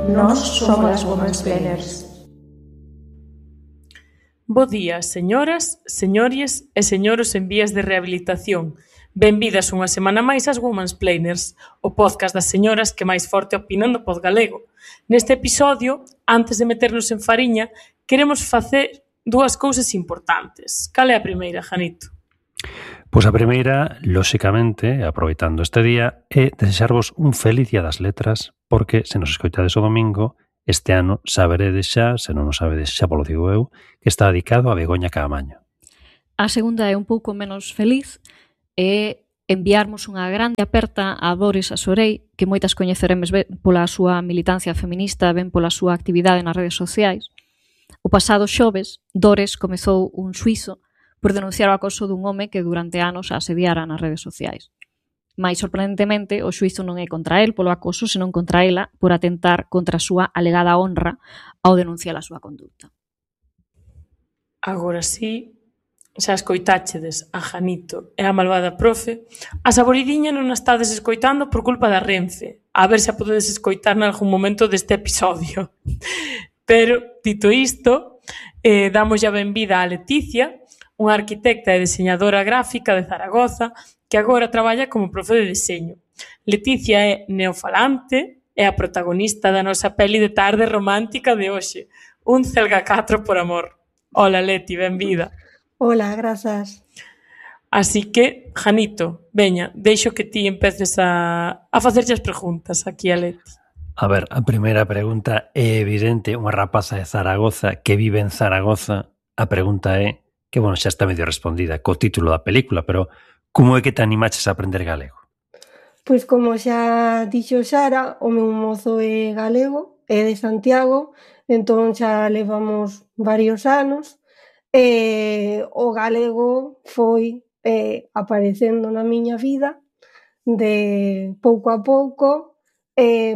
Nós somos as Womansplainers. Bo día, señoras, señores e señoros en vías de rehabilitación. Benvidas unha semana máis ás Womansplainers, o podcast das señoras que máis forte opinan do pod galego. Neste episodio, antes de meternos en fariña, queremos facer dúas cousas importantes. Cal é a primeira, Janito? Pois a primeira, lóxicamente, aproveitando este día, é desexarvos un feliz Día das Letras, porque se nos escoitades o domingo, este ano saberedes xa, se non o sabedes xa polo digo eu, que está dedicado a Begoña Caamaño. A segunda é un pouco menos feliz, é enviarmos unha grande aperta a Dores Asorei, que moitas coñeceremes ben pola súa militancia feminista, ben pola súa actividade nas redes sociais. O pasado xoves, Dores comezou un xuízo por denunciar o acoso dun home que durante anos a asediara nas redes sociais. Mais sorprendentemente, o xuízo non é contra el polo acoso, senón contra ela por atentar contra a súa alegada honra ao denunciar a súa conducta. Agora sí, xa escoitáchedes a Janito e a malvada profe, a saboridiña non a estades escoitando por culpa da Renfe. A ver se a podedes escoitar nalgún momento deste episodio. Pero, dito isto, damos a benvida a Leticia, unha arquitecta e deseñadora gráfica de Zaragoza que agora traballa como profe de deseño. Leticia é neofalante e a protagonista da nosa peli de tarde romántica de hoxe, Un Celga 4 por amor. Hola Leti, benvida. Hola, grazas. Así que, Janito, veña, deixo que ti empeces a facerche as preguntas aquí a Leti. A ver, a primeira pregunta é evidente, unha rapaza de Zaragoza que vive en Zaragoza, a pregunta é, que bueno, xa está medio respondida co título da película, pero como é que te animaches a aprender galego? Pois como xa dixo Sara, o meu mozo é galego, é de Santiago, entón xa levamos varios anos, e o galego foi aparecendo na miña vida de pouco a pouco,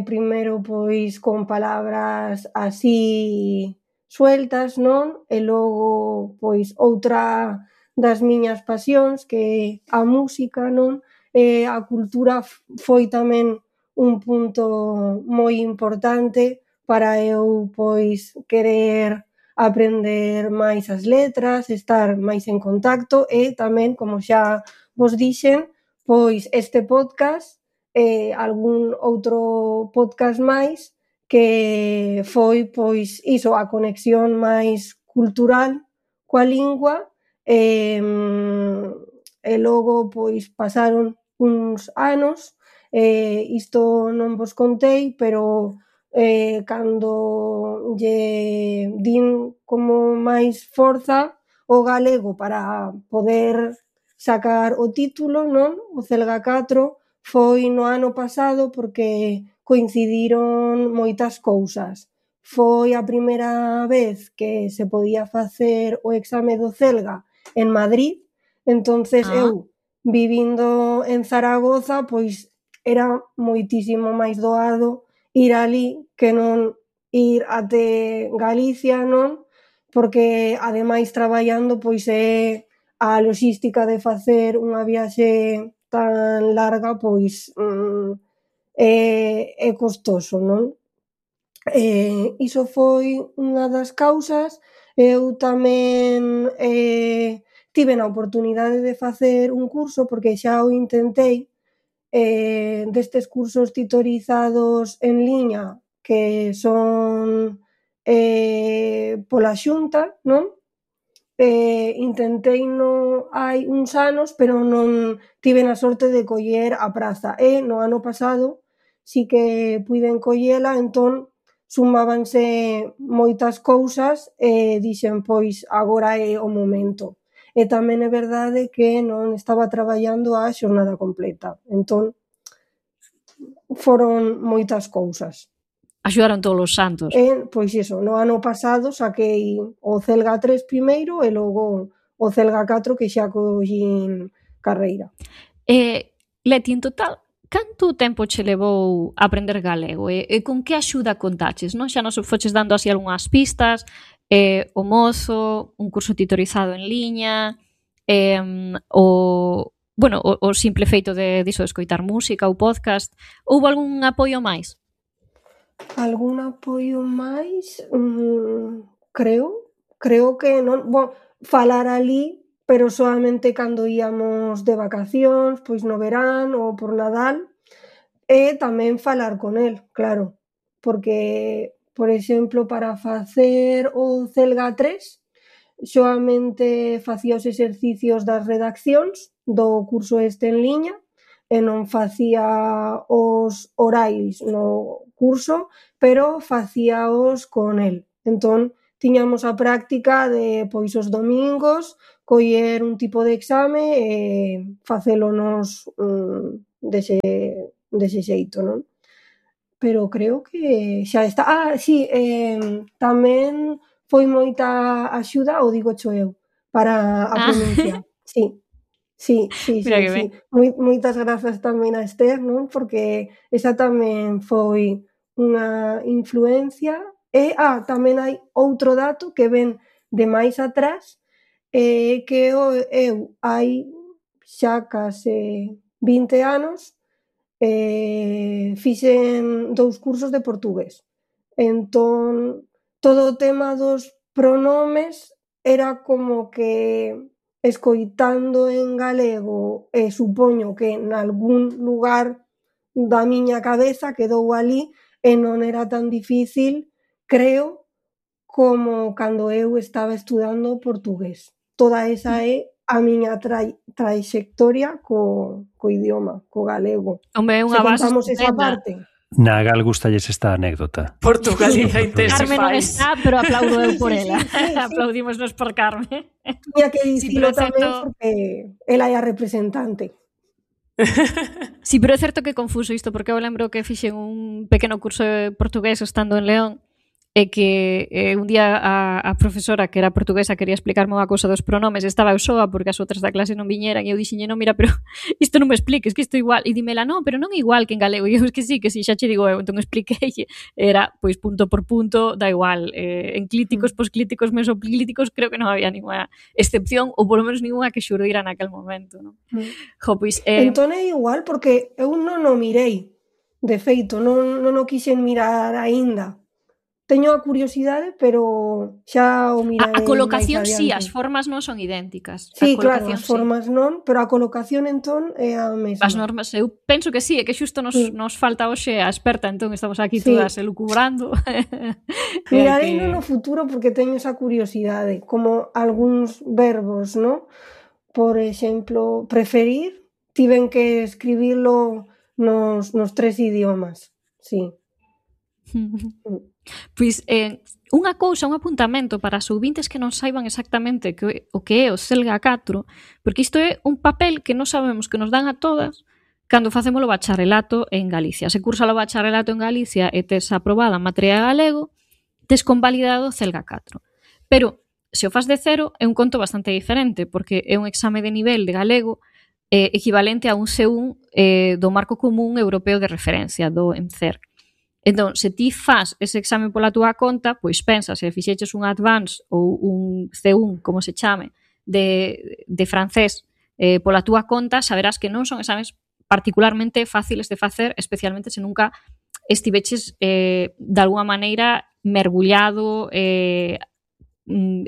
primeiro pois con palabras así sueltas, non? E logo, pois, outra das miñas pasións, que a música, non? A cultura foi tamén un punto moi importante para eu, pois, querer aprender máis as letras, estar máis en contacto e tamén, como xa vos dixen, pois este podcast e algún outro podcast máis que foi, pois, iso, a conexión máis cultural coa lingua e logo, pois, pasaron uns anos, isto non vos contei, pero cando lle din como máis forza o galego para poder sacar o título, non? O Celga 4 foi no ano pasado porque coincidiron moitas cousas. Foi a primeira vez que se podía facer o exame do Celga en Madrid, entonces eu, vivindo en Zaragoza, pois era moitísimo máis doado ir alí que non ir até Galicia, non? Porque, ademais, traballando, pois é a loxística de facer unha viaxe tan larga, pois é costoso, non? Iso foi unha das causas. Eu tamén tiven a oportunidade de facer un curso, porque xa o intentei, destes cursos titorizados en liña que son pola Xunta, non? Intenteino hai uns anos, pero non tiven a sorte de coller a praza. E no ano pasado si que puiden collela, entón sumábanse moitas cousas e dixen, pois, agora é o momento. E tamén é verdade que non estaba traballando a xornada completa, entón foron moitas cousas. Axudaron todos os santos. Pois iso, no ano pasado saquei o Celga 3 primeiro e logo o Celga 4 que xa collín carreira. Leti, en total, canto tempo che levou aprender galego e con que axuda contaches, non? Xa nos foches dando así algunhas pistas, o mozo, un curso titorizado en liña, o simple feito de escoitar música ou podcast. Houbo algún apoio máis? Algún apoio máis? Creo que non. Bon, falar alí, pero solamente cando íamos de vacacións, pois no verán ou por Nadal, e tamén falar con el, claro, porque, por exemplo, para facer o Celga 3, soamente facía os exercicios das redaccións do curso este en liña e non facía os orais no curso, pero facíaos con el. Entón, tiñamos a práctica de, pois, os domingos, coller un tipo de exame e facelo nos dese xeito, non? Pero creo que xa está. Sí, tamén foi moita axuda, o digocho eu, para a pronuncia. Sí. Mira que ben. Moitas grazas tamén a Esther, non? Porque esa tamén foi unha influencia. E tamén hai outro dato que ven de máis atrás, que eu hai xa case 20 anos fixen 2 cursos de portugués. Entón, todo o tema dos pronomes era como que escoitando en galego, e supoño que nalgún lugar da miña cabeza quedou ali e non era tan difícil, creo, como cando eu estaba estudando portugués. Toda esa é a miña traxectoria co idioma, co galego. Hombre, é unha base contamos esa estupenda. parte. Na Gal gustalles esta anécdota. Portugaliza Carmen non Intensify. está, pero aplaudo eu por ela. Sí. Aplaudímonos por Carmen. Tiña que dicilo pero é tamén certo- porque ela é a representante. Sí, pero é certo que é confuso isto, porque eu lembro que fixen un pequeno curso de portugués estando en León, e que un día a profesora, que era portuguesa, quería explicarme unha cousa dos pronomes, estaba eu soa porque as outras da clase non viñeran, e eu dixenlle, non, mira, pero isto non me expliques, que isto é igual. E dímela, non, pero non é igual que en galego. E eu, que sí, xa che digo eu. Entón expliquei, era, pois, punto por punto, da igual. Enclíticos, posclíticos, mesoclíticos, creo que non había ninguna excepción, ou polo menos ninguna que xurdira naquel momento, non? Jo, pois... Entón é igual porque eu non o mirei. De feito, non o quixen mirar aínda. Teño a curiosidade, pero xa o mirarei A colocación máis sí, adiante. as formas non son idénticas. Sí, A claro, colocación as formas non, pero a colocación entón é a mesma. As normas, eu penso que sí, é que xusto nos falta hoxe a experta, entón estamos aquí Sí. todas elucubrando. Mirarei no futuro porque teño esa curiosidade, como algúns verbos, ¿no? Por exemplo, preferir, tiven que escribilo nos 3 idiomas, sí. Pois, unha cousa, un apuntamento para os ouvintes que non saiban exactamente o que é o Selga 4, porque isto é un papel que non sabemos que nos dan a todas cando facemos o bacharelato en Galicia. Se cursa o bacharelato en Galicia e tes aprobada a materia de galego, tes convalidado o Selga 4. Pero, se o fas de cero, é un conto bastante diferente, porque é un exame de nivel de galego equivalente a un C1 do Marco Común Europeo de Referencia, do ENCER. Entón, se ti fas ese exame pola túa conta, pois pensa, se fixeches un Advance ou un C1, como se chame, de francés pola túa conta, saberás que non son exames particularmente fáciles de facer, especialmente se nunca estiveches de alguma maneira mergullado en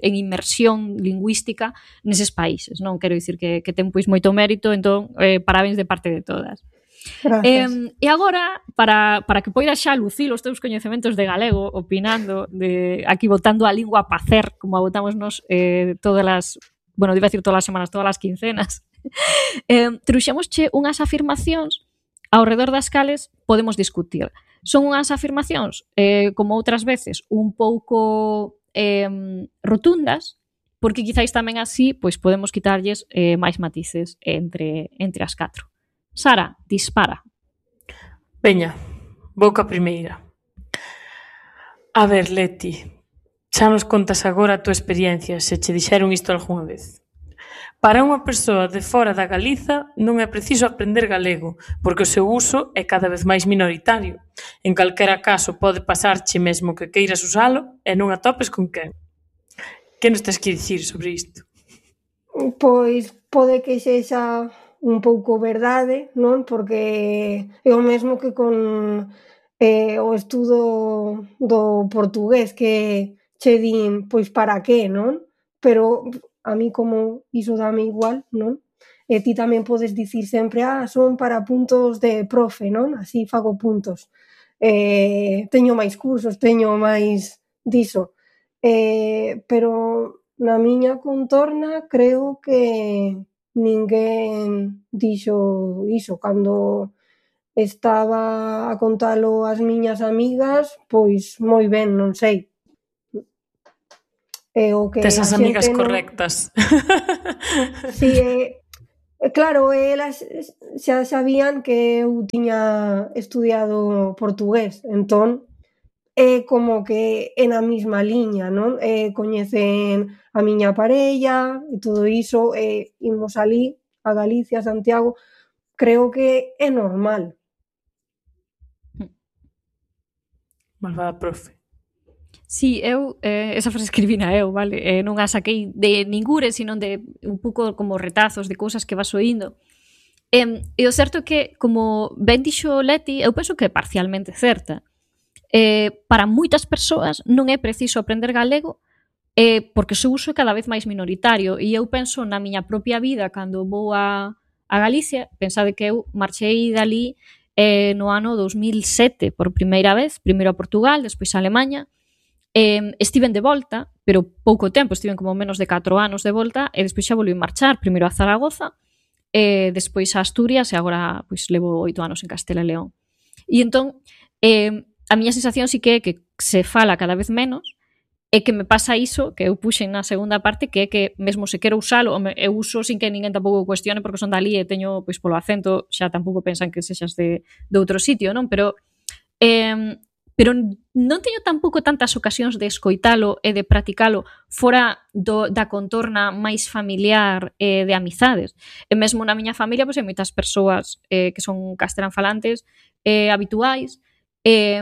inmersión lingüística neses países, non? Quero dicir que ten pois moito mérito, entón, parabéns de parte de todas. E agora, para que poidas xa lucir os teus coñecementos de galego, opinando, aquí botando a lingua a pacer, como a botamos nos todas as, bueno, iba a decir todas as semanas, todas as quincenas, trouxemosche unhas afirmacións ao redor das cales podemos discutir. Son unhas afirmacións, como outras veces, un pouco rotundas, porque quizáis tamén así pois podemos quitarlles máis matices entre as 4. Sara, dispara. Veña, vou ca primeira. A ver, Leti, xa nos contas agora a tua experiencia, se che dixeron isto algunha vez. Para unha persoa de fora da Galiza non é preciso aprender galego, porque o seu uso é cada vez máis minoritario. En calquera caso pode pasarche mesmo que queiras usalo e non atopes con quen. Que nos tes que dicir sobre isto? Pois pode que sexa un pouco verdade, non? Porque é o mesmo que con o estudo do portugués que che din, pois para que, non? Pero a mí como iso dame igual, non? E ti tamén podes dicir sempre, son para puntos de profe, non? Así fago puntos. Teño máis cursos, teño máis diso. Pero na miña contorna creo que ninguén dixo iso. Cando estaba a contalo ás miñas amigas, pois moi ben, non sei. O que Tes as a amigas xente non... correctas. Si, claro, elas xa sabían que eu tiña estudiado portugués, entón é como que é na mesma liña, non? Coñecen a miña parella e todo iso, imos alí a Galicia, a Santiago, creo que é normal. Malvada profe. Sí, eu, esa frase escribina eu, vale? Non a saquei de ningure, sino de un pouco como retazos de cousas que vas oíndo. E o certo é que, como ben dixo Leti, eu penso que é parcialmente certa. Para moitas persoas non é preciso aprender galego porque o seu uso é cada vez máis minoritario. E eu penso na miña propia vida cando vou a Galicia, pensade que eu marchei dali no ano 2007 por primeira vez, primeiro a Portugal, despois a Alemanha. Estiven de volta, pero pouco tempo, estiven como menos de 4 anos de volta, e despois xa volví marchar, primeiro a Zaragoza, despois a Asturias, e agora pois levo 8 anos en Castela e León. E entón, a miña sensación sí que é que se fala cada vez menos, e que me pasa iso, que eu puxen na segunda parte, que é que mesmo se quero usalo, eu uso sin que ninguén tampouco cuestione, porque son dali e teño, pois polo acento, xa tampouco pensan que sexas de outro sitio, non? Pero non teño tampouco tantas ocasións de escoitalo e de practicalo fora da contorna máis familiar e de amizades. E mesmo na miña familia pois hai moitas persoas que son castelán falantes habituais e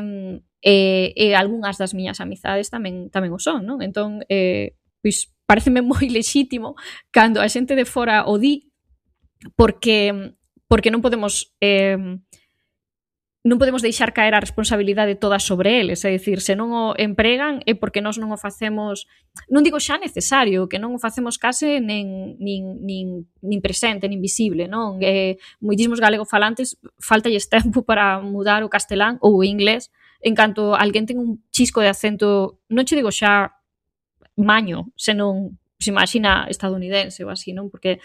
algunhas das miñas amizades tamén o son, non? Entón, pois pareceme moi lexítimo cando a xente de fora o di porque non podemos deixar caer a responsabilidade toda sobre eles, é dicir, se non o empregan é porque nós non o facemos, non digo xa necesario, que non o facemos case nin presente, nin visible, non? Moitísimos galego-falantes faltalles tempo para mudar o castelán ou o inglés, en canto alguén ten un chisco de acento, non che digo xa maño, senón, se imagina estadounidense ou así, non? Porque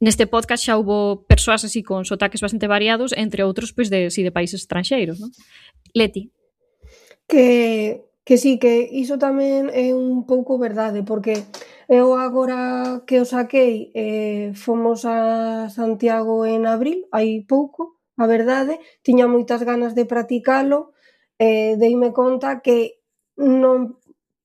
neste podcast xa houbo persoas así con sotaques bastante variados, entre outros pois de países estranxeiros, non? Leti. Que sí, que iso tamén é un pouco verdade, porque eu agora que o saquei fomos a Santiago en abril, hai pouco, a verdade, tiña moitas ganas de practicalo, deime conta que non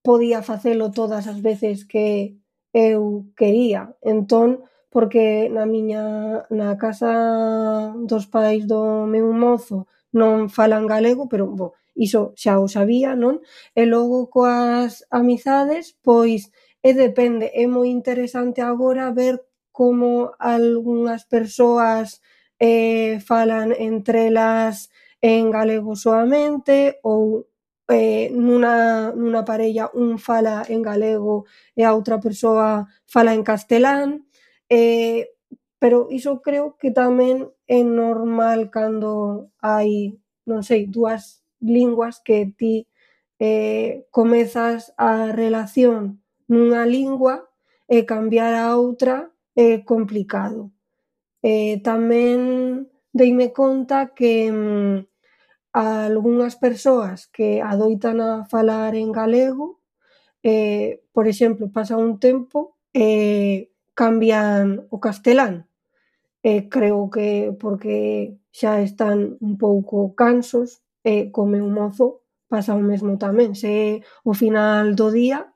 podía facelo todas as veces que eu quería, entón, porque na casa dos pais do meu mozo non falan galego, pero, iso xa o sabía, non? E logo coas amizades, pois, depende, é moi interesante agora ver como algunhas persoas falan entre elas en galego soamente ou nunha parella un fala en galego e a outra persoa fala en castelán, pero iso creo que tamén é normal cando hai, non sei, dúas linguas que ti comezas a relación nunha lingua e cambiar a outra é complicado. Tamén deime conta que algunhas persoas que adoitan a falar en galego, por exemplo, pasa un tempo e cambian o castelán. Creo que porque xa están un pouco cansos e co meu mozo pasa o mesmo tamén. Se ao final do día,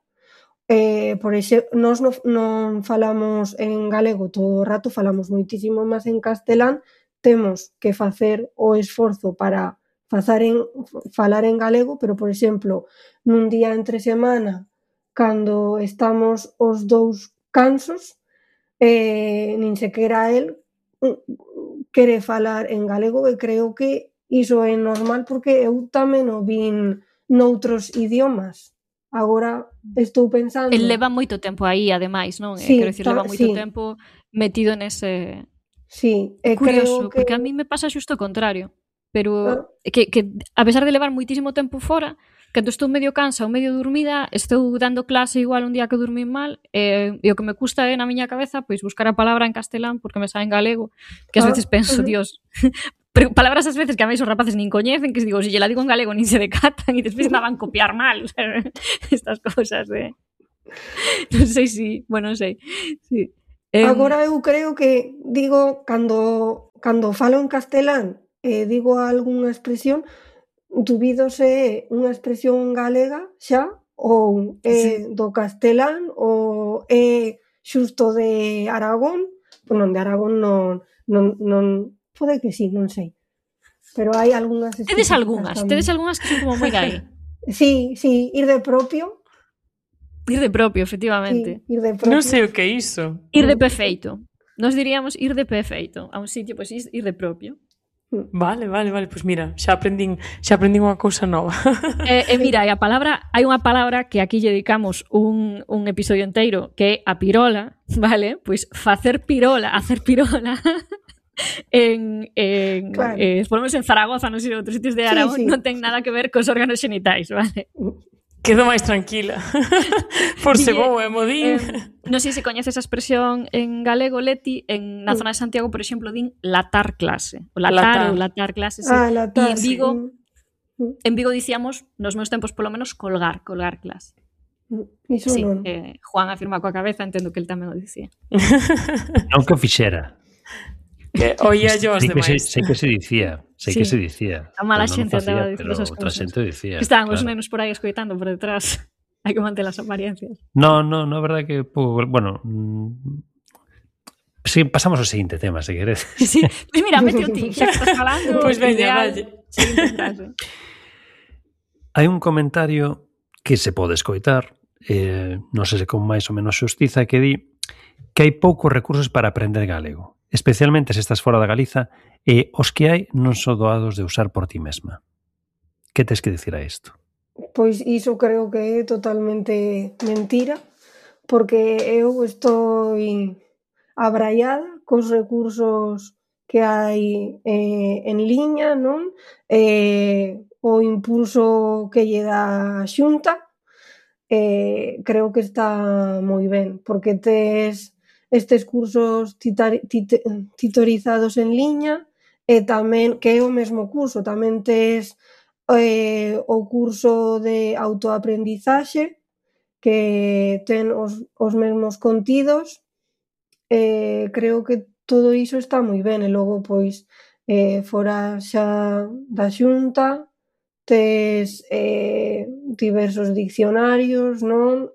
nós non falamos en galego todo o rato, falamos moitísimo máis en castelán, temos que facer o esforzo para falar en galego, pero, por exemplo, nun día entre semana, cando estamos os dous cansos, nin sequera el quere falar en galego e creo que iso é normal porque eu tamén o vin noutros idiomas. Agora estou pensando... El leva moito tempo aí, ademais, non? Sí, Quero dicir, leva moito sí. tempo metido nese... Sí, É curioso, creo que... porque a mí me pasa xusto o contrario. Pero que a pesar de levar moitísimo tempo fora, cando estou medio cansa ou medio dormida, estou dando clase igual un día que dormín mal, e o que me custa é na miña cabeza pois buscar a palabra en castelán porque me sae en galego, que ás veces penso, Dios, pero palabras ás veces que a mí os rapaces nin coñecen, que digo, se lle la digo en galego nin se decatan e despois me van copiar mal, estas cousas de... Non sei si, bueno, non sei. Sí. Agora eu creo que digo, cando falo en castelán digo algunha expresión, dubido se é unha expresión galega xa ou é do castelán ou é xusto de Aragón, non, de Aragón non pode que sí, non sei. Pero hai algunhas Tedes algunhas que son como moi gai. Sí, ir de propio. Ir de propio, efectivamente. Sí, ir de propio. Non sei o que é iso. Ir de pé feito. Nos diríamos ir de pé feito a un sitio, pois ir de propio. Vale, pois mira, xa aprendín unha cousa nova. Mira, hai unha palabra que aquí lle dedicamos un episodio enteiro, que é a pirola, vale? Pois hacer pirola claro. Por lo menos en Zaragoza, non sei, en outros sitios de Aragón, sí. Non ten nada que ver cos órganos xenitais, vale? Quedo máis tranquila. Por se vou e modín. Non sei se coñeces a expresión en galego, Leti, na zona de Santiago, por exemplo, din latar clase. O latar clase, sí. Latar, e en Vigo dicíamos, nos meus tempos polo menos, colgar clase. Iso sí, non. Juan afirma coa cabeza, entendo que el tamén o dicía. Non que o fixera. Que oía yo os demais. Sei que se dicía. A mala xente andaba a dicir esas cousas. Outra xente dicía. Estaban os nenos por aí escoitando por detrás. Hai que manter as apariencias. No, a verdade que bueno, sí, pasamos ao seguinte tema, se queres. Sí, pois mira, mete o ti, xa que estás falando. Pois veña, dalle. Hai un comentario que se pode escoitar, non sei se con máis ou menos xustiza, que di que hai poucos recursos para aprender galego, especialmente se estás fora da Galiza, e os que hai non son doados de usar por ti mesma. Que tes que dicir a isto? Pois iso creo que é totalmente mentira, porque eu estou abraiada cos recursos que hai en liña, non? O impulso que lle dá a Xunta, creo que está moi ben, porque tes estes cursos titorizados en liña e tamén, que é o mesmo curso, tamén tes o curso de autoaprendizaxe que ten os mesmos contidos. Creo que todo iso está moi ben e logo pois fora xa da Xunta tes diversos diccionarios, non?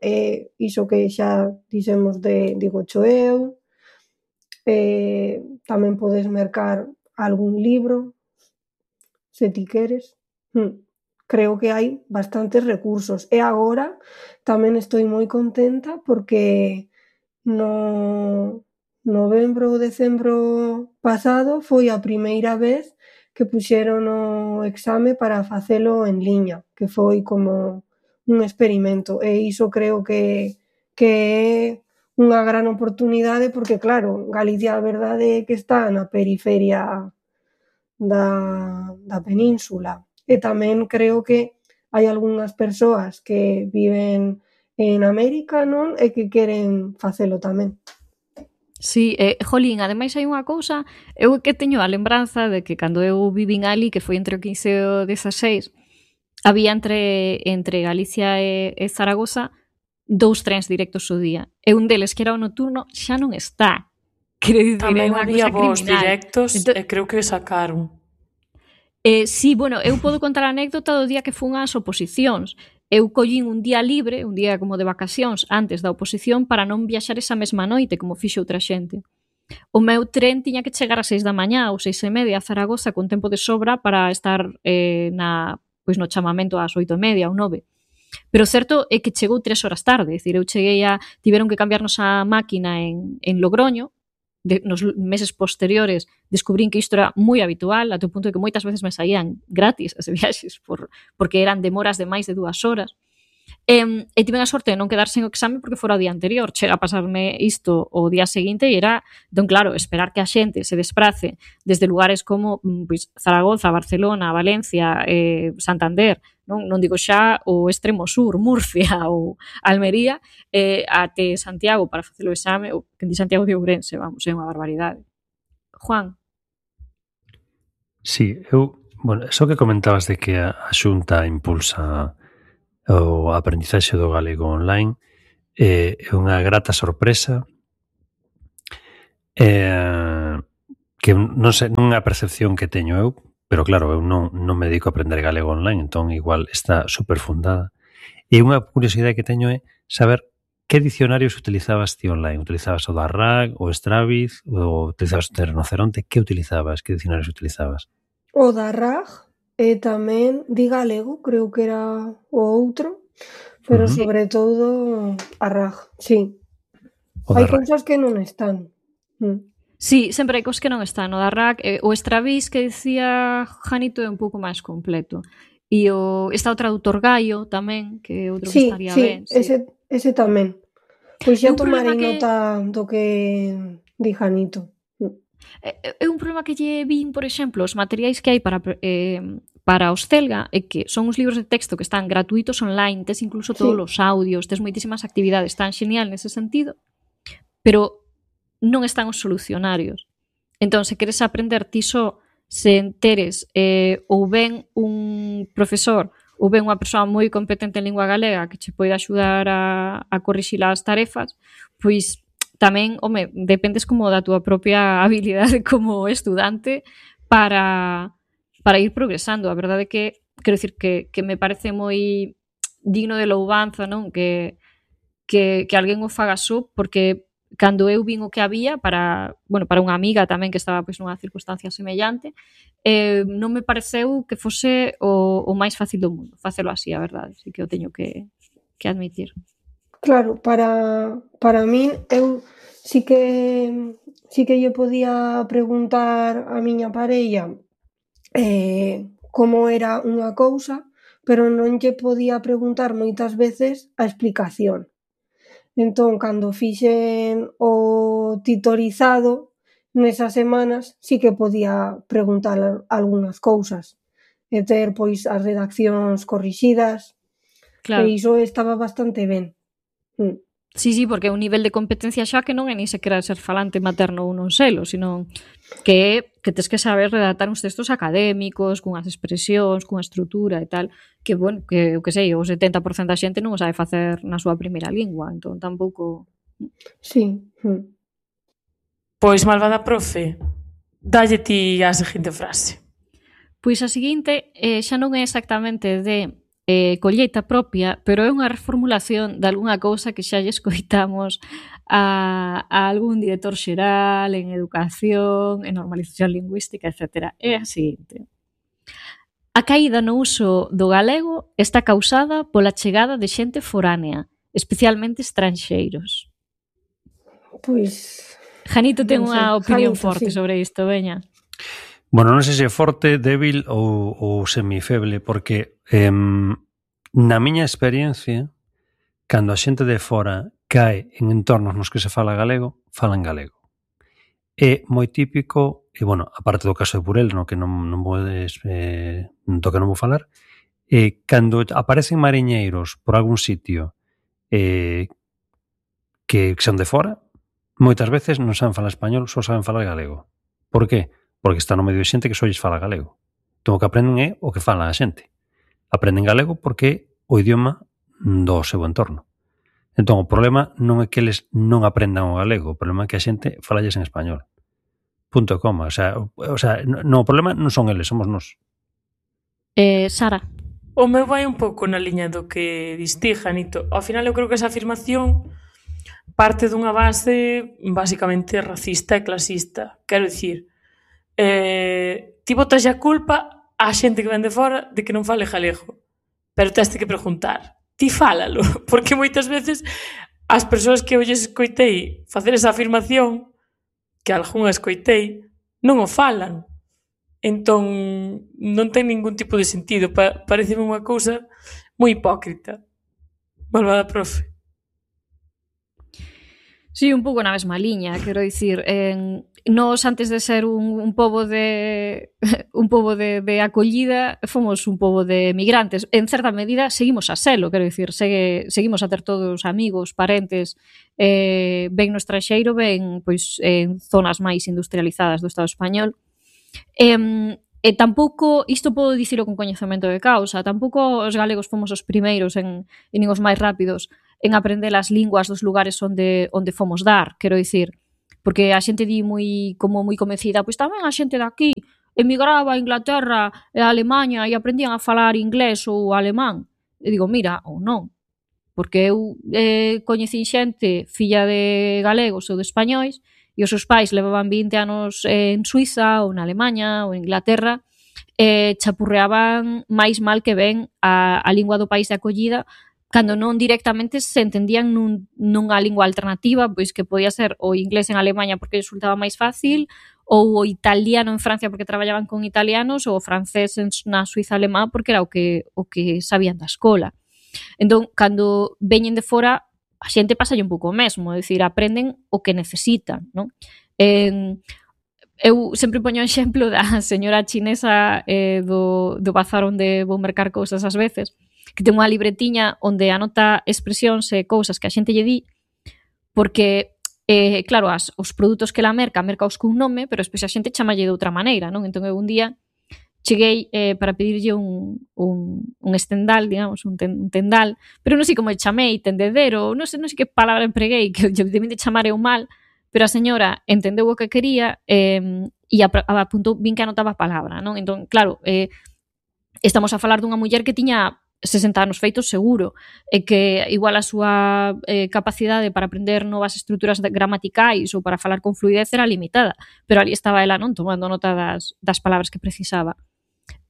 Iso que xa dixemos digo eu, tamén podes mercar algún libro se ti queres. Creo que hai bastantes recursos e agora tamén estou moi contenta porque no novembro ou decembro pasado foi a primeira vez que puxeron o exame para facelo en liña, que foi como un experimento e iso creo que é unha gran oportunidade porque claro, Galicia a verdade é que está na periferia da península. E tamén creo que hai algunhas persoas que viven en América, non? E que queren facelo tamén. Sí, jolín, ademais hai unha cousa, eu que teño a lembranza de que cando eu vivín ali, que foi entre o 15 e o 16, había entre Galicia e Zaragoza 2 trens directos ao día. E un deles, que era o nocturno, xa non está. Quero dicir, tamén é unha había cousa voos criminal. directos e creo que sacaron. Sí, bueno, eu podo contar a anécdota do día que fun ás oposicións. Eu collín un día libre, un día como de vacacións antes da oposición para non viaxar esa mesma noite como fixo outra xente. O meu tren tiña que chegar ás 6 da mañá ou 6:30 a Zaragoza con tempo de sobra para estar no chamamento ás 8:30 ou 9. Pero o certo é que chegou 3 horas tarde, é dicir, tiveron que cambiarnos a máquina en Logroño nos meses posteriores descubrín que isto era moi habitual, até o punto de que moitas veces me saían gratis as viaxes porque eran demoras de máis de 2 horas. E tiven a sorte de non quedar sen o exame porque fora o día anterior. Chega a pasarme isto o día seguinte e era, entón claro, esperar que a xente se desprace desde lugares como pois, Zaragoza, Barcelona, Valencia, Santander, non digo xa o extremo sur, Murcia ou Almería, até Santiago para facer o exame, ou que di Santiago de Ourense, vamos, é unha barbaridade. Juan. Sí, eso que comentabas de que a Xunta impulsa o aprendizaxe do galego online é unha grata sorpresa que non sei, non é a percepción que teño eu, pero claro, eu non me dedico a aprender galego online, entón igual está super fundada. E unha curiosidade que teño é saber que dicionarios utilizabas ti online. Utilizabas o da RAG, o Straviz, ou utilizabas o Rinoceronte? Que utilizabas? Que dicionarios utilizabas? O da RAG e tamén di galego, creo que era o outro, pero sobre todo a RAG, sí. Hai cousas que non están. Sí, sempre hai cousas que non están. O da RAG, o Straviz que dicía Janito é un pouco máis completo. E está o traductor Gaio tamén, que é outro que estaría ben. Sí, ese tamén. Pois xa tomarei nota do que di Janito. É un problema que lle vin, por exemplo, os materiais que hai para os Celga é que son uns libros de texto que están gratuitos online, tes incluso todos os audios, tes moitísimas actividades, tan genial nese sentido, pero non están os solucionarios. Entón, se queres aprender ti só, se enteres ou ben un profesor ou ben unha persoa moi competente en lingua galega que che pode axudar a corrixir as tarefas, pois tamén, dependes como da túa propia habilidade como estudante para ir progresando. A verdade é que, quero dicir, que me parece moi digno de louvanza, non? Que alguén o faga só, porque cando eu vin o que había para unha amiga tamén que estaba pois nunha circunstancia semellante, non me pareceu que fose o máis fácil do mundo facelo así, a verdade, así que o teño que admitir. Claro, para min eu sí que lle podía preguntar a miña parella como era unha cousa, pero non lle podía preguntar moitas veces a explicación. Entón, cando fixen o titorizado nesas semanas, sí que podía preguntar algunhas cousas e ter pois as redaccións corrixidas. Claro. E iso estaba bastante ben. Sí, porque é un nivel de competencia xa que non é ni sequera ser falante materno ou non selo, sino que tes que saber redactar uns textos académicos, cunhas expresións, cunha estrutura e tal, que, que o que sei, o 70% da xente non o sabe facer na súa primeira lingua, entón tampouco... Sí. Pois, malvada profe, dalle ti a seguinte frase. Pois a seguinte xa non é exactamente de colleita propia, pero é unha reformulación de algunha cousa que xa lle escoitamos a algún director xeral en educación, en normalización lingüística, etc. É a seguinte: a caída no uso do galego está causada pola chegada de xente foránea, especialmente estranxeiros. Pois... Janito ten unha opinión forte sobre isto, veña. Bueno, non sei se é forte, débil ou semifeble, porque na miña experiencia, cando a xente de fora cae en entornos nos que se fala galego, falan galego. É moi típico, e, aparte do caso de Burel, no que non vou falar, cando aparecen mariñeiros por algún sitio que son de fora, moitas veces non saben falar español, só saben falar galego. Por qué? Porque está no medio de xente que só lles fala galego. Entón o que aprenden é o que fala a xente. Aprenden galego porque é o idioma do seu entorno. Entón o problema non é que eles non aprendan o galego, o problema é que a xente falalles en español. Punto e coma. O sea, o problema non son eles, somos nós. Sara. O meu vai un pouco na liña do que diste, Janito. Ao final eu creo que esa afirmación parte dunha base basicamente racista e clasista. Quero dicir, ti botas a culpa a xente que ven de fora de que non fale galego, pero teste que preguntar, ti fálalo, porque moitas veces as persoas que eu lles escoitei facer esa afirmación que algunha escoitei, non o falan. Entón, non ten ningún tipo de sentido. Pareceme unha cousa moi hipócrita. Malvada profe. Sí, un pouco na mesma liña, quero dicir, nós antes de ser un pobo de un pobo de acollida, fomos un pobo de migrantes. En certa medida seguimos a selo, quero dicir, seguimos a ter todos amigos, parentes, ben no estranxeiro, ben pois en zonas máis industrializadas do Estado español. E tampouco, isto podo dicilo con coñecemento de causa, tampouco os galegos fomos os primeiros e nin os máis rápidos en aprender as linguas dos lugares onde fomos dar, quero dicir, porque a xente di moi convencida, pois tamén a xente daqui emigraba a Inglaterra e a Alemanha e aprendían a falar inglés ou alemán. E digo, mira, ou non, porque eu coñecín xente filla de galegos ou de españois e os seus pais levaban 20 anos en Suiza ou na Alemanha ou en Inglaterra e chapurreaban máis mal que ben a lingua do país de acollida cando non directamente se entendían nunha lingua alternativa, pois que podía ser o inglés en Alemanha porque resultaba máis fácil, ou o italiano en Francia porque traballaban con italianos, ou o francés na Suiza alemá porque era o que sabían da escola. Entón, cando veñen de fora, a xente pasa un pouco o mesmo, é dicir, aprenden o que necesitan, non? Eu sempre poño o exemplo da señora chinesa do bazar onde vou mercar cousas ás veces, que ten unha libretiña onde anota expresións e cousas que a xente lle di, porque, claro, os produtos que ela merca os cun nome, pero despois a xente chamalle de outra maneira, non? Entón eu un día cheguei para pedirlle un estendal, digamos, un tendal, pero non sei como chamei, tendedero, non sei que palabra empreguei, que debín de chamar eu mal, pero a señora entendeu o que quería e apuntou, vin que anotaba a palabra, non? Entón, claro, estamos a falar dunha muller que tiña 60 anos feitos seguro, e que igual a súa capacidade para aprender novas estruturas gramaticais ou para falar con fluidez era limitada, pero ali estaba ela, non, tomando nota das palabras que precisaba.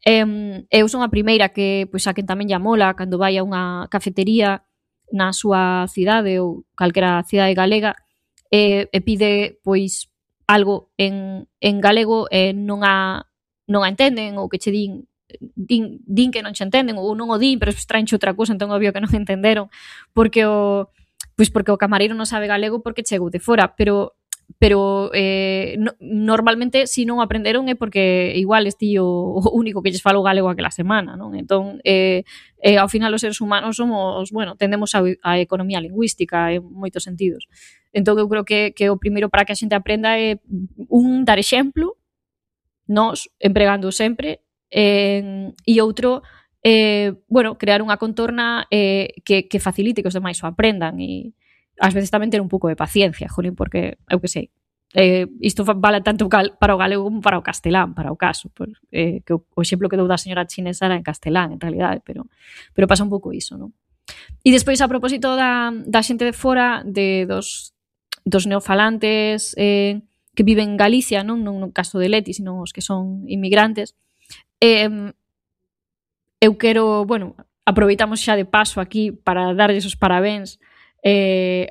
Eu son a primeira que, pois, a quen tamén lla mola cando vai a unha cafetería na súa cidade ou calquera cidade galega e pide, pois, algo en galego e non a entenden ou que che din que non che entenden ou non o din, pero traenche outra cousa, entón obvio que non entenderon porque o camareiro non sabe galego porque chegou de fora, pero normalmente se non aprenderon é porque igual esti o único que lles falou galego aquela semana, non? Entón, ao final os seres humanos somos, bueno, tendemos a economía lingüística en moitos sentidos. Entón eu creo que o primeiro para que a xente aprenda é dar exemplo, nós empregando sempre, e outro, bueno, crear unha contorna que facilite que os demais o aprendan e ás veces tamén ter un pouco de paciencia, jolín, porque eu que sei, isto vale tanto para o galego como para o castelán, para o caso, que o exemplo que dou da señora chinesa era en castelán, en realidade, pero pasa un pouco iso, non? E despois, a propósito da xente de fora, dos neofalantes que viven en Galicia, non no caso de Leti, sino os que son inmigrantes, eu quero, bueno, aproveitamos xa de paso aquí para darlles os parabéns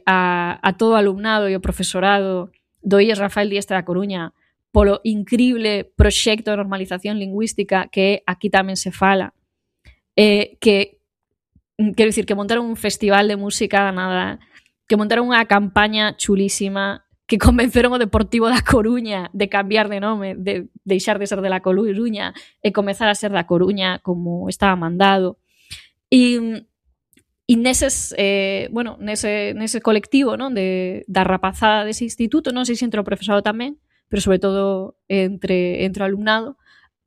a todo o alumnado e o profesorado do IES Rafael Dieste da Coruña polo increíble proxecto de normalización lingüística que aquí tamén se fala, que quero dicir que montaron un festival de música nada, que montaron unha campaña chulísima, que convenceron o Deportivo da Coruña de cambiar de nome, de deixar de ser de la Coruña e comezar a ser da Coruña como estaba mandado. E neses, bueno, nese colectivo, non, da rapazada dese instituto, non sei se entre o profesorado tamén, pero sobre todo entre o alumnado,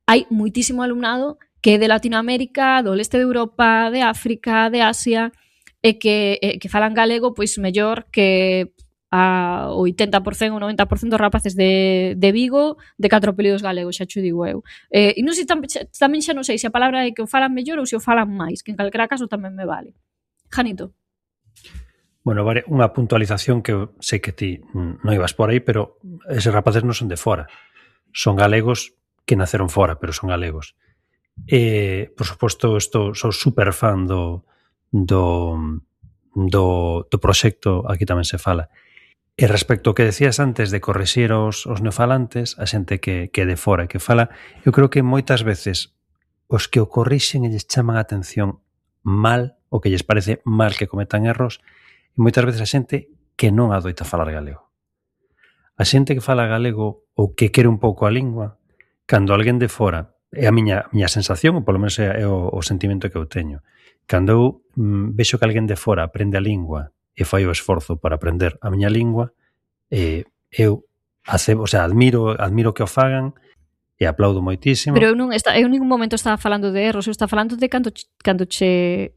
hai moitísimo alumnado que é de Latinoamérica, do leste de Europa, de África, de Asia, e que falan galego pois mellor que a 80% ou 90% dos rapaces de Vigo de 4 apelidos galegos, xa xo digo eu. E non sei, tamén xa non sei se a palabra é que o falan mellor ou se o falan máis, que en calquera caso tamén me vale. Janito. Bueno, vale, unha puntualización que eu sei que ti non ibas por aí, pero eses rapaces non son de fora. Son galegos que naceron fora, pero son galegos. E, por suposto, sou super fan do proxecto, aquí tamén se fala. E respecto ao que decías antes de corrixir os neofalantes, a xente que de fora que fala, eu creo que moitas veces os que o corrixen e lles chaman a atención mal, o que lles parece mal que cometan erros, e moitas veces a xente que non adoita falar galego. A xente que fala galego ou que quere un pouco a lingua, cando alguén de fora, é a miña sensación, ou polo menos é o sentimento que eu teño, cando eu vexo que alguén de fora aprende a lingua e fai o esforzo para aprender a miña lingua, eu admiro que o fagan e aplaudo moitísimo. Pero eu en ningún momento estaba falando de erros, eu estaba falando de cando che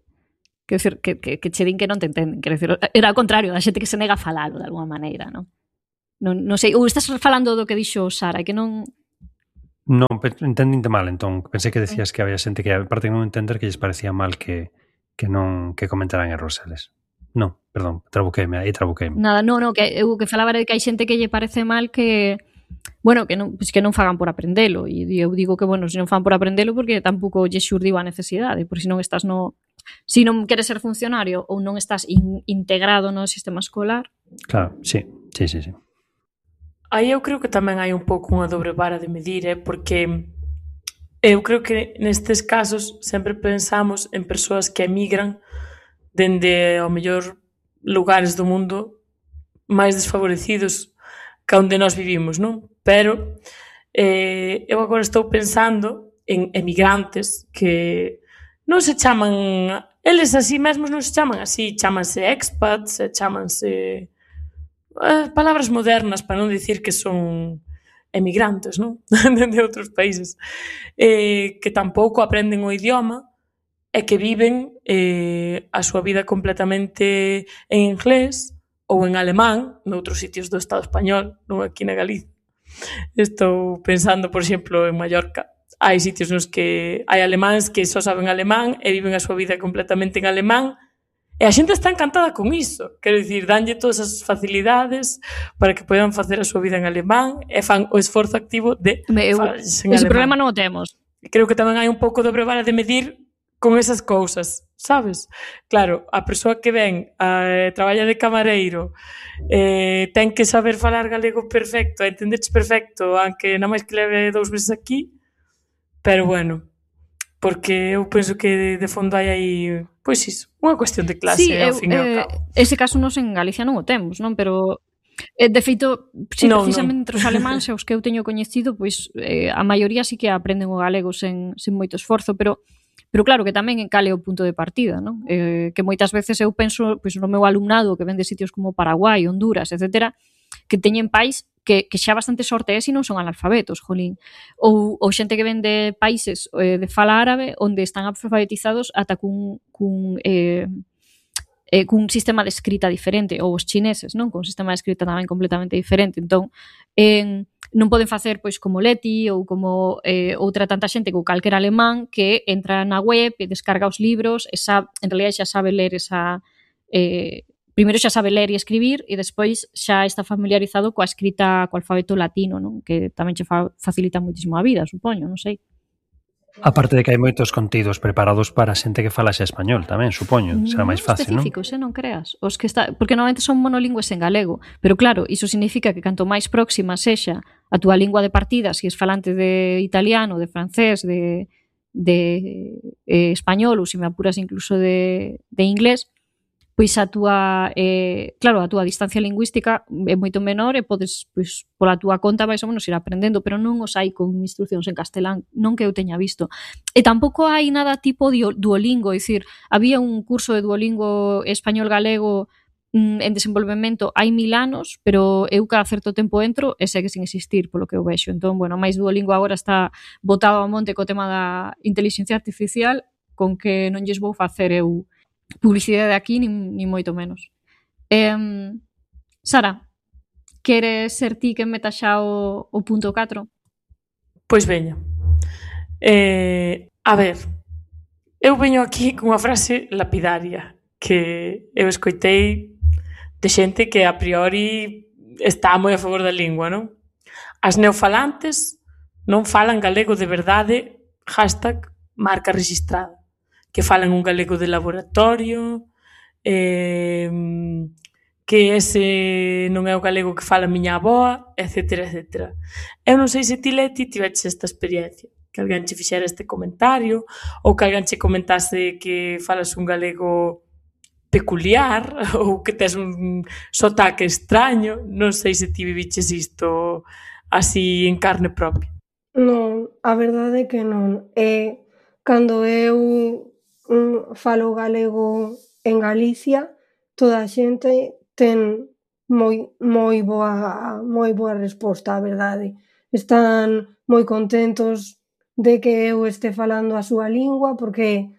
quero decir, que che din que non te entenden, quero decir, era ao contrario, da xente que se nega a falalo de alguma maneira, non? Non sei, ou estás falando do que dixo Sara, que non... Non, entendinte mal, entón, pensei que decías que había xente que, aparte de non entender, que lles parecía mal que comentaran erros eles. Non, perdón, trabuqueime. Nada, que eu que falaba de que hai xente que lle parece mal que non fagan por aprendelo, e eu digo que, se non fan por aprendelo porque tampouco lle xurdiu a necesidade, porque se non estás se non queres ser funcionario ou non estás integrado no sistema escolar. Claro, sí. Aí eu creo que tamén hai un pouco unha dobre vara de medir, porque eu creo que nestes casos sempre pensamos en persoas que emigran dende, ao mellor, lugares do mundo máis desfavorecidos que onde nós vivimos, non? Pero eu agora estou pensando en emigrantes que non se chaman, eles así mesmos non se chaman así, chamanse expats, chamanse palabras modernas para non dicir que son emigrantes, non? De outros países, que tampouco aprenden o idioma e que viven a súa vida completamente en inglés ou en alemán noutros sitios do Estado español, non aquí na Galicia. Estou pensando, por exemplo, en Mallorca. Hai sitios nos que hai alemáns que só saben alemán e viven a súa vida completamente en alemán, e a xente está encantada con iso. Quero dicir, danlle todas as facilidades para que poidan facer a súa vida en alemán e fan o esforzo activo de falarse en alemán. Ese problema non o temos. Creo que tamén hai un pouco dobre vara de medir con esas cousas, sabes? Claro, a persoa que ven traballa de camareiro, ten que saber falar galego perfecto, entenderche perfecto, aunque nada máis que leve 2 meses aquí, pero porque eu penso que de fondo hai aí, pois iso, unha cuestión de clase, ao fin e ao cabo. Ese caso nos en Galicia non o temos, non? Pero, de feito, precisamente entre os alemáns e os que eu teño coñecido, pois a maioría sí que aprenden o galego sen moito esforzo, pero claro que tamén cale o punto de partida, non? Que moitas veces eu penso pois no meu alumnado que ven de sitios como Paraguai, Honduras, etcétera, que teñen pais que xa bastante sorte se non son analfabetos, jolín. Ou xente que ven de países de fala árabe onde están alfabetizados ata cun sistema de escrita diferente, ou os chineses, non? Con un sistema de escrita tamén completamente diferente. Entón, non poden facer pois como Leti ou como outra tanta xente ou calquera alemán que entra na web e descarga os libros e en realidad xa sabe ler primeiro xa sabe ler e escribir e despois xa está familiarizado coa escrita, co alfabeto latino, non? Que tamén che facilita moitísimo a vida, supoño, non sei. Aparte de que hai moitos contidos preparados para xente que fala xa español tamén, supoño, será máis fácil, non? Específicos, non creas. Os que porque normalmente son monolingües en galego, pero claro, iso significa que canto máis próxima sexa a túa lingua de partida, se es falante de italiano, de francés, de español ou se me apuras incluso de inglés, pois a túa distancia lingüística é moito menor e podes, pois, pola túa conta máis ou menos ir aprendendo, pero non os hai con instruccións en castelán, non que eu teña visto. E tampouco hai nada tipo Duolingo, é dicir, había un curso de Duolingo español-galego en desenvolvemento hai 1000 anos, pero eu cada certo tempo entro e segue sin existir, polo que eu vexo. Entón, máis Duolingo agora está botado ao monte co tema da inteligencia artificial, con que non lles vou facer eu publicidade aquí, ni moito menos. Sara, queres ser ti que meta xa o punto 4? Pois veña. A ver, eu veño aquí con unha frase lapidaria que eu escoitei de xente que a priori está moi a favor da lingua, non? As neofalantes non falan galego de verdade, #marca rexistrada. Que falan un galego de laboratorio, que ese non é o galego que fala a miña avoa, etcétera, etcétera. Eu non sei se ti, Leti, tiveches esta experiencia, que alguén che fixera este comentario, ou que alguén che comentase que falas un galego peculiar, ou que tes un sotaque extraño. Non sei se ti viviches isto así en carne propia. Non, a verdade é que non. Cando eu falo galego en Galicia, toda a xente ten moi boa resposta, a verdade. Están moi contentos de que eu este falando a súa lingua, porque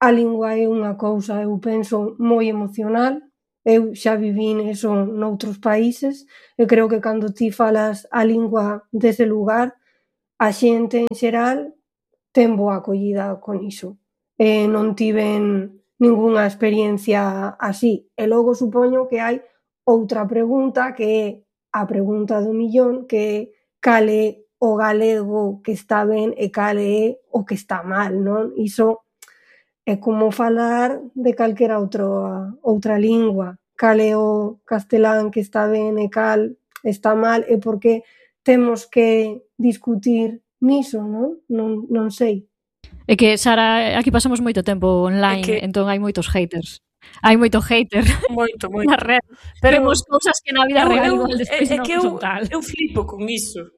a lingua é unha cousa, eu penso, moi emocional. Eu xa vivín eso noutros países e creo que cando ti falas a lingua dese lugar, a xente en xeral ten boa acollida con iso. Non tiven ningunha experiencia así. E logo supoño que hai outra pregunta, que é a pregunta do millón, que é cal é o galego que está ben e cal é o que está mal, non? Iso é como falar de calquera outra lingua. Cal é o castelán que está ben e cal está mal, e por que temos que discutir niso, non? Non sei. É que, Sara, aquí pasamos moito tempo online, entón hai moitos haters. Hai moito hater moito na rede. Pero vemos cousas que na vida real igual despois non son tal. Eu flipo con iso.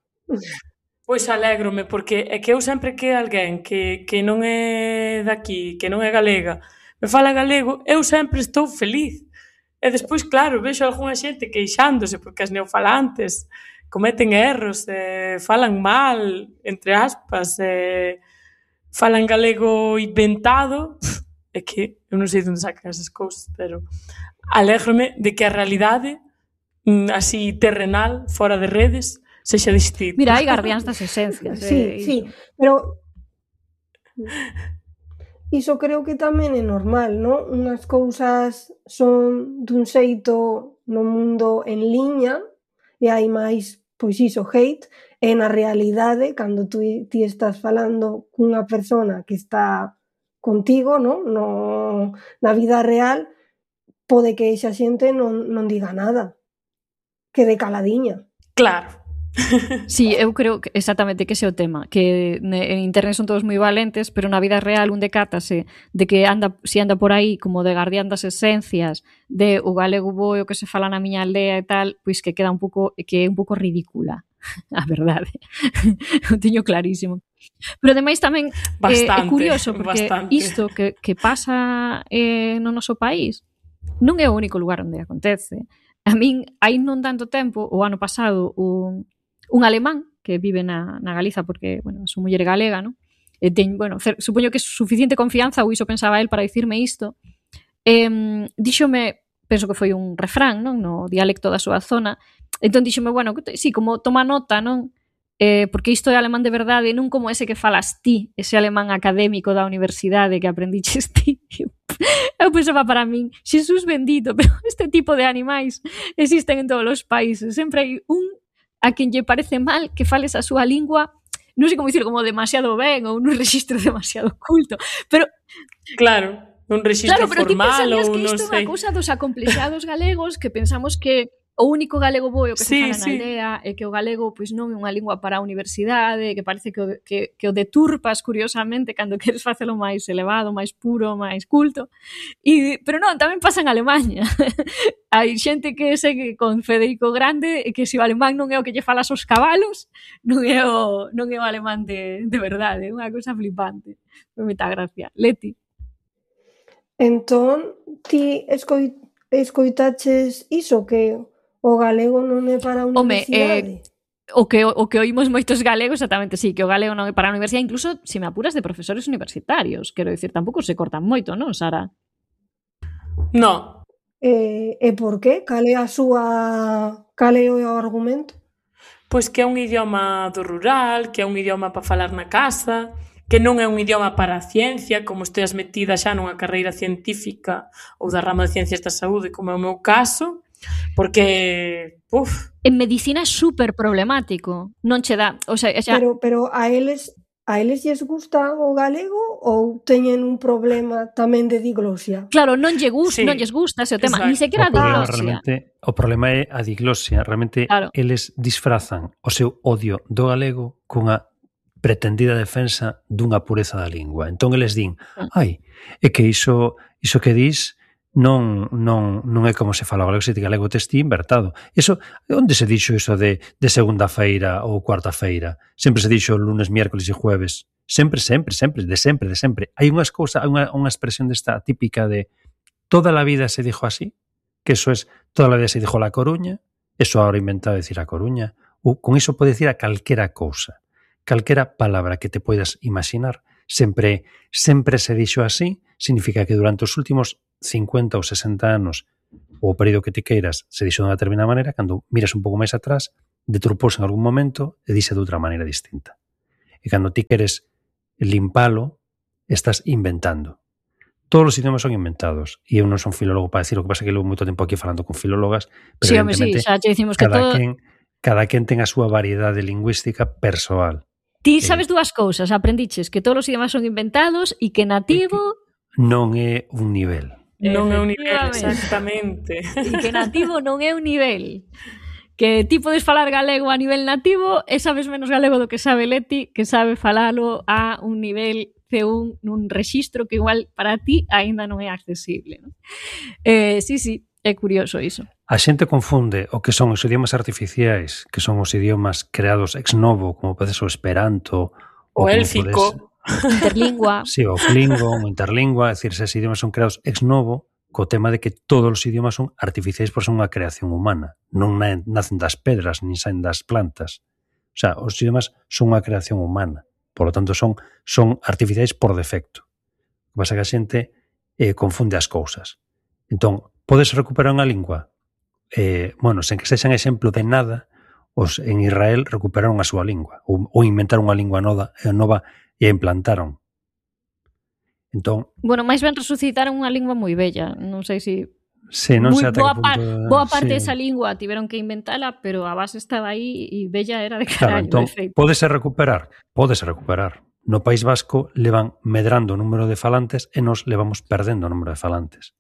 Pois alégrome, porque é que eu sempre que alguén que non é daqui, que non é galega, me fala galego, eu sempre estou feliz. E despois, claro, vexo algunha xente queixándose porque as neofalantes cometen erros, falan mal, entre aspas, falan galego inventado. É que eu non sei onde sacan esas cousas, pero alégrome de que a realidade así terrenal, fora de redes, sexa distinta. Mira, hai guardiáns das esencias. Sí, pero iso creo que tamén é normal, non? Unhas cousas son dun xeito no mundo en liña e hai máis, pois iso, hate, e na realidade, cando ti estás falando cunha persona que está contigo, non? Na vida real, pode que esa xente non diga nada, quede caladiña. Claro. Sí, eu creo que exactamente que ese é o tema, que en internet son todos moi valentes, pero na vida real un decátase de que anda por aí como de guardián das esencias, de o galego bo e o que se fala na miña aldea e tal, pois que queda un pouco ridícula, a verdade. O teño clarísimo. Pero ademais tamén é curioso, porque isto que pasa no noso país non é o único lugar onde acontece. A min, hai non tanto tempo, o ano pasado, un alemán que vive na Galiza, porque, bueno, a súa muller é galega, non? E supoño que é suficiente confianza, ou iso pensaba el, para dicirme isto. Díxome, penso que foi un refrán, non? No dialecto da súa zona. Entón díxome, bueno, sí, como toma nota, non? Porque isto é alemán de verdade, non como ese que falas ti, ese alemán académico da universidade que aprendiches ti. Eu pensaba para min, Xesús bendito, pero este tipo de animais existen en todos os países. Sempre hai un a quen lle parece mal que fales a súa lingua, non sei como dicir, como demasiado ben ou nun rexistro demasiado oculto, pero claro, un rexistro formal ou non sei. Claro, pero ti pensarías que isto é unha cousa dos acomplexados galegos, que pensamos que o único galego bo é o que se fala na aldea, e que o galego pois non é unha lingua para a universidade, que parece que o deturpas curiosamente cando queres facelo máis elevado, máis puro, máis culto. Pero non, tamén pasa en Alemanha. Hai xente que segue con Federico Grande e que se o alemán non é o que lle falas aos cabalos, non é o alemán de verdade, é unha cousa flipante. Me meta gracia. Leti. Entón, ti escoitaches iso, que o galego non é para a universidade? O que oímos moitos galegos, exactamente, sí, que o galego non é para a universidade, incluso, se me apuras, de profesores universitarios. Quero dicir, tampouco se cortan moito, non, Sara? No. E por qué? Cal é o argumento? Pois que é un idioma do rural, que é un idioma para falar na casa, que non é un idioma para a ciencia, como esteas metida xa nunha carreira científica ou da rama de ciencias da saúde, como é o meu caso, porque, en medicina é super problemático, non che dá, o sea, xa... Pero a eles a eles lles gusta o galego ou teñen un problema tamén de diglosia? Claro, non lles Sí, gusta ese tema, exacto. ni sequera a diglosia. O problema é a diglosia. Realmente Claro. eles disfrazan o seu odio do galego cunha pretendida defensa dunha pureza da lingua. Entón eles din, ai, é que iso que dis non é como se fala o galego, se ti galego tes ti invertado. Iso, onde se dixo iso de segunda feira ou cuarta feira? Sempre se dixo lunes, miércoles e jueves. Sempre, de sempre. Hai unhas cousas, hai unha expresión desta típica de toda la vida se dijo así, que eso es toda la vida se dijo La Coruña, eso ahora inventado decir A Coruña, ou con iso pode decir a calquera cousa, calquera palabra que te poidas imaginar, sempre se dixo así, significa que durante os últimos 50 ou 60 anos ou o período que te queiras se dixo de unha determinada maneira, cando miras un pouco máis atrás, deturpouse en algún momento e dixe de outra maneira distinta. E cando ti queres limpalo, estás inventando. Todos os idiomas son inventados e eu non son filólogo para decir, o que pasa que levo moito tempo aquí falando con filólogas, pero Sí, home, sí, xa te dicimos que todo... cada quen ten a súa variedade lingüística persoal. Ti sabes dúas cousas, aprendiches que todos os idiomas son inventados e que nativo... Non é un nivel. Non é un nivel, exactamente. E que nativo non é un nivel. Que ti podes falar galego a nivel nativo e sabes menos galego do que sabe Leti, que sabe falalo a un nivel C1 nun rexistro que igual para ti aínda non é accesible, ¿no? Sí, é curioso iso. A xente confunde o que son os idiomas artificiais, que son os idiomas creados ex novo, como pode ser o esperanto, o élfico, interlingua. Sí, o flingo, o interlingua, é dicir, esos idiomas son creados ex novo, co tema de que todos os idiomas son artificiais por ser unha creación humana. Non nacen das pedras, nin saen das plantas. O sea, os idiomas son unha creación humana. Por lo tanto, son artificiais por defecto. O que pasa é que a xente confunde as cousas. Entón, podes recuperar unha lingua? Bueno, sen que sexan exemplo de nada, os en Israel recuperaron a súa lingua, ou inventaron unha lingua nova e a implantaron. Entón, bueno, máis ben resucitaron unha lingua moi bella, non sei se sí, non sei ata que punto... boa parte desa lingua tiveron que inventala, pero a base estaba aí e bella era de carallo, claro, entón, de feito. Pódese recuperar. No País Vasco levan medrando o número de falantes e nos levamos perdendo o número de falantes.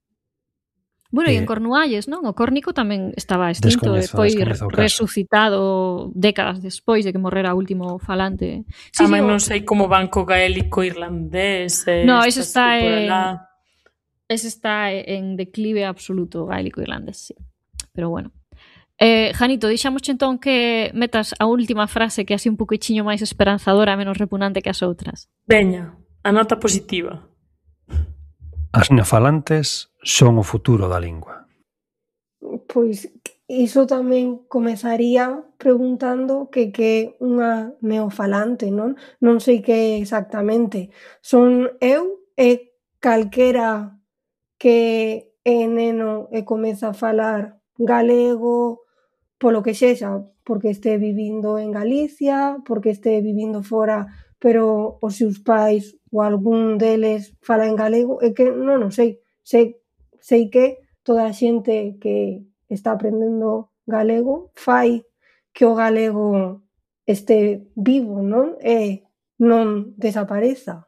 Bueno, e en Cornualles, non? O córnico tamén estaba extinto e foi resucitado décadas despois de que morrera o último falante. Sí, tamén non sei como van co gaélico irlandés. No, ese está en declive absoluto, gaélico irlandés, sí. Pero bueno. Janito, deixamos entón que metas a última frase que así un poquinho máis esperanzadora, menos repugnante que as outras. Veña, a nota positiva. As neofalantes son o futuro da lingua. Pois iso tamén comezaría preguntando que é unha neofalante, non? Non sei que exactamente. Son eu e calquera que é neno e comeza a falar galego polo que sexa, porque este vivindo en Galicia, porque este vivindo fora, pero os seus pais ou algún deles fala en galego, é que non o sei. Sei que toda a xente que está aprendendo galego fai que o galego este vivo, non? E non desapareza.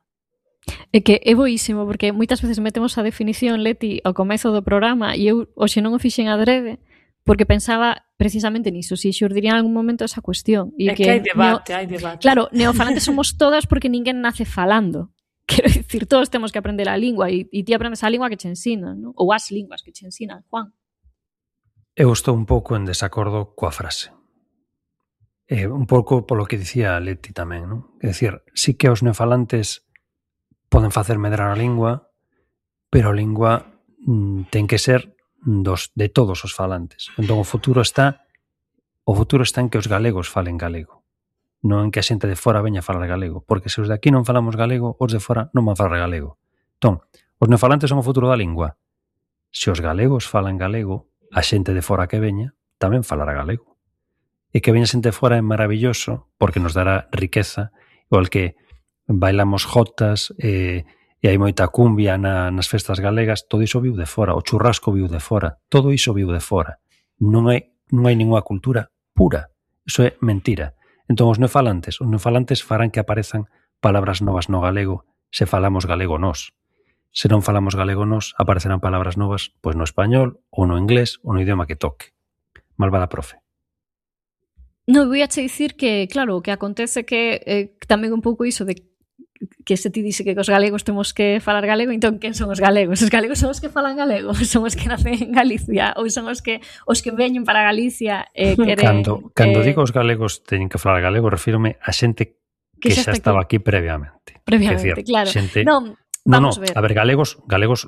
É que é boísimo, porque moitas veces metemos a definición, Leti, ao comezo do programa e eu hoxe non o fixen adrede porque pensaba precisamente niso, si xurdiría en algún momento esa cuestión. E que hai debate. Claro, neofalantes somos todas porque ninguén nace falando. Quero dicir, todos temos que aprender a lingua e ti aprendes a lingua que che ensinan, non? Ou as linguas que che ensinan, Juan. Eu estou un pouco en desacordo coa frase. Un pouco polo que dicía Leti tamén, non? É dicir, sí que os neofalantes poden facer medrar a lingua, pero a lingua ten que ser de todos os falantes. Entón o futuro está en que os galegos falen galego, non en que a xente de fora veña a falar galego, porque se os de aquí non falamos galego, os de fora non van a falar galego. Entón, os neofalantes son o futuro da lingua. Se os galegos falan galego, a xente de fora que veña tamén falará galego. E que veña xente de fora é maravilloso, porque nos dará riqueza, igual que bailamos jotas e hai moita cumbia nas festas galegas, todo iso viu de fora, o churrasco viu de fora, todo iso viu de fora. Non hai ninguna cultura pura, iso é mentira. Entón os neofalantes farán que aparezan palabras novas no galego se falamos galego nós. Se non falamos galego nós, aparecerán palabras novas pois no español ou no inglés ou no idioma que toque. Malvada profe. Non, vou a che dicir que, claro, o que acontece que tamén un pouco iso de que se ti dice que os galegos temos que falar galego, entón quen son os galegos? Os galegos son os que falan galego, son os que nacen en Galicia, ou son os que veñen para Galicia e queren... Cando digo os galegos teñen que falar galego, refírome a xente que xa estaba aquí previamente. Previamente, claro. Xente... Non, vamos ver. A ver, galegos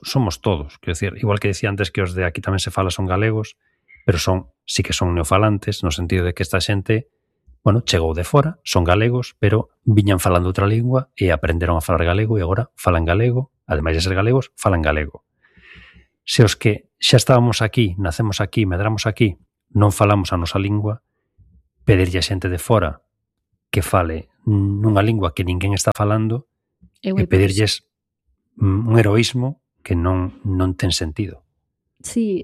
somos todos. Quero decir, igual que decía antes que os de aquí tamén se fala son galegos, pero sí que son neofalantes, no sentido de que esta xente, bueno, chegou de fora, son galegos, pero viñan falando outra lingua e aprenderon a falar galego e agora falan galego, ademais de ser galegos, falan galego. Se os que xa estábamos aquí, nacemos aquí, medramos aquí, non falamos a nosa lingua, pedirlle a xente de fora que fale nunha lingua que ninguén está falando e pedirlles un heroísmo que non ten sentido. Sí,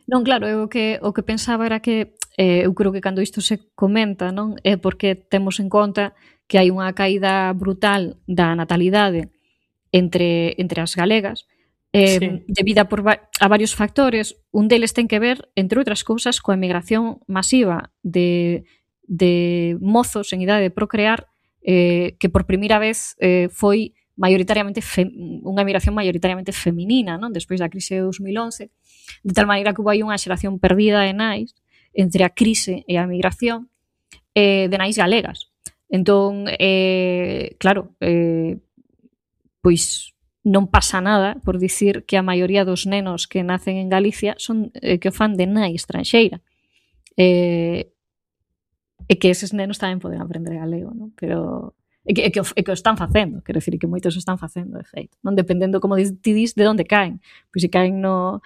non, claro, o que pensaba era que eu creo que cando isto se comenta, non, é porque temos en conta que hai unha caída brutal da natalidade entre as galegas, debida a varios factores. Un deles ten que ver, entre outras cousas, coa emigración masiva de mozos en idade de procrear, que por primeira vez foi maioritariamente unha emigración maioritariamente feminina, non? Despois da crise de 2011, de tal maneira que houve unha xeración perdida de nais entre a crise e a migración de nais galegas. Entón, claro, pois non pasa nada por dicir que a maioría dos nenos que nacen en Galicia son que o fan de nai estranxeira. E que eses nenos tamén poden aprender galego, non? Pero é que o están facendo, quero dicir, que moitos o están facendo, de feito. Non dependendo, como ti dis, de onde caen. Pois se caen no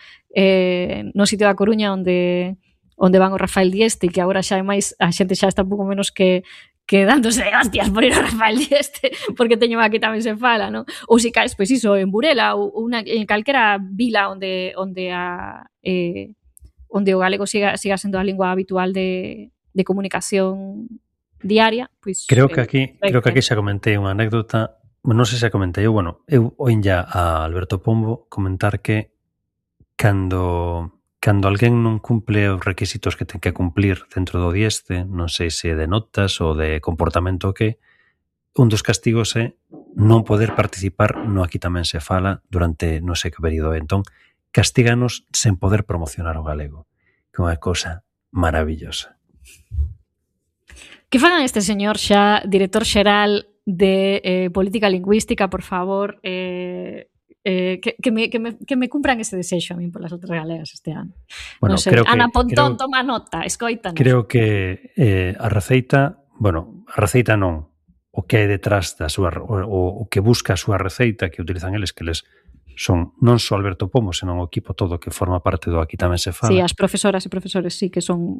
sitio da Coruña onde van o Rafael Dieste, que agora xa é máis, a xente xa está un pouco menos que dándose de hostias por ir a Rafael Dieste, porque teño aquí tamén se fala, non? Ou se caes, pois iso, en Burela ou en calquera vila onde o galego siga sendo a lingua habitual de comunicación diaria, pois... Creo que aquí xa comentei unha anécdota, non sei se a comentei, eu oínlla a Alberto Pombo comentar que cando alguén non cumple os requisitos que ten que cumplir dentro do Dieste, non sei se de notas ou de comportamento que, un dos castigos é non poder participar no Aquí tamén se fala durante non sei que período. Entón, castíganos sen poder promocionar o galego, que é unha cousa maravillosa. Que fagan este señor xa, director xeral de Política Lingüística, por favor, que me cumpran ese desexo a min polas outras galegas este ano. Bueno, non sei, Ana Pontón, toma nota, escoítanos. Creo que a receita non, o que hai detrás da súa, o que busca a súa receita que utilizan eles, que eles son non só Alberto Pombo, senón o equipo todo que forma parte do Aquí tamén se fala. Sí, as profesoras e profesores sí que son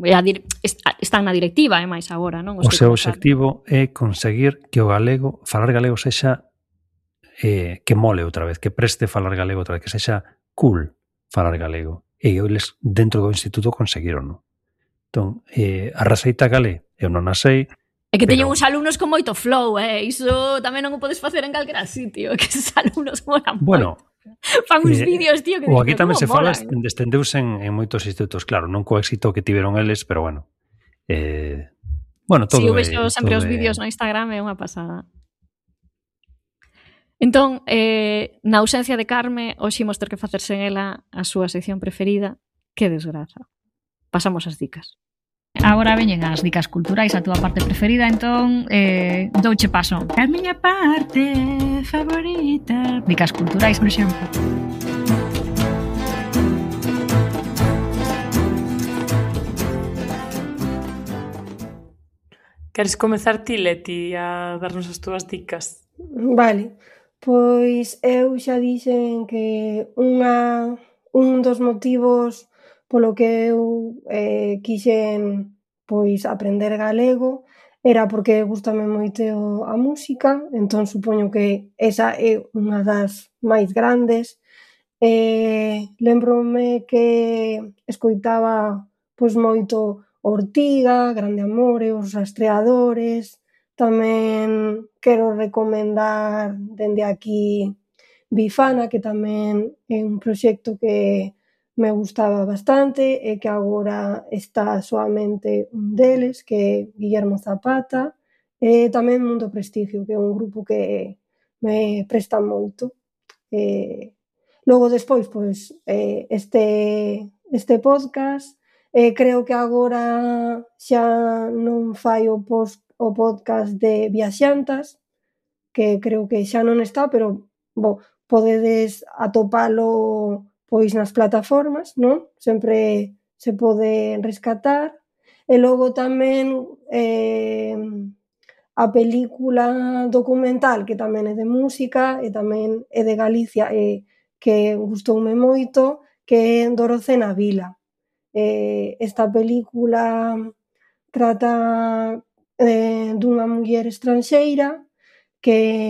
están na directiva, e máis agora, non? O seu obxectivo é conseguir que o galego, falar galego sexa que mole outra vez, que preste falar galego outra vez, que sexa cool falar galego. E eles dentro do instituto conseguiron, non? Entón, a receita galé, eu non a sei. É que teñen uns alumnos con moito flow, iso tamén non o podes facer en calquera sitio, que esos alumnos molan moito. Fan uns vídeos, tío, que o Aquí tamén se fala, estendeuse en moitos institutos, claro, non co éxito que tiveron eles, pero bueno. Todo sí, eu vexo sempre os vídeos no Instagram, é unha pasada. Entón, na ausencia de Carme, hoxe imos ter que facer sen ela a súa sección preferida. Que desgraza. Pasamos as dicas. Agora veñen as dicas culturais, a túa parte preferida, entón douche paso. A miña parte favorita. Dicas culturais, por exemplo. Queres comezar ti, Leti, a darnos as túas dicas? Vale, pois eu xa dixen que un dos motivos polo que eu quixen pois aprender galego era porque gústame moito a música, entón supoño que esa é unha das máis grandes. Lembrome que escoitaba pois moito Ortiga, Grande Amore, Os Rastreadores, tamén quero recomendar dende aquí Bifana, que tamén é un proxecto que me gustaba bastante e que agora está soamente un deles, que é Guillermo Zapata, e tamén Mundo Prestigio, que é un grupo que me presta moito. Logo despois, pois, este podcast, creo que agora xa non fai o podcast de Viaxantas, que creo que xa non está, pero podedes atopalo pois nas plataformas, non? Sempre se pode rescatar. E logo tamén a película documental, que tamén é de música e tamén é de Galicia, que gustoume moito, que é Doroce na vila. Esta película trata dunha muller estranxeira que